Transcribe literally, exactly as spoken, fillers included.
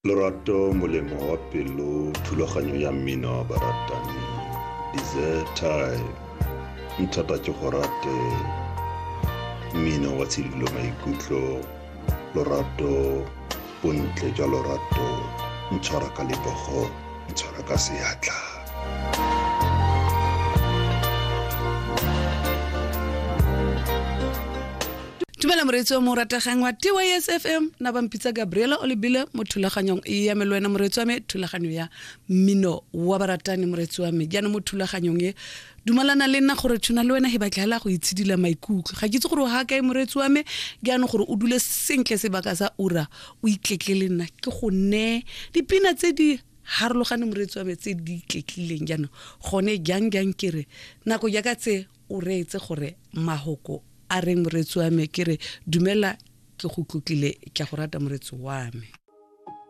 Lorato molemo wa pelo, thulaganyo ya mmino wa baratani, Dessert Time, nthata ke go rate, mmino wa tshidilo maikutlo, lorato, bontle jwa lorato, ntshwara ka lebogo, ntshwara ka seatla. Dumela moreetsi wa mo rategang wa T Y S F M, na ba mpitsa Gabriela o lebile mo thulaganyong e ya me le wena moreetsi wa me, thulaganyo ya mmino wa baratani moreetsi wa me. Jaanong mo thulaganyong e dumalana le nna gore tshwana le wena he batla go itshidila maikutlo. Ga ke itse gore o ha kae moreetsi wa me, jaanong gore o dule sentle sebaka sa ura o itletle le nna ke go ne dipina tse di harologane moreetsi wa me tse di itletlileng. Jaanong gone jang jang ke re nako jaaka tse o reetse gore mahoko a reng moreetsi wa me, ke re dumela ke go tlotlile, ke a go rata moreetsi wa me.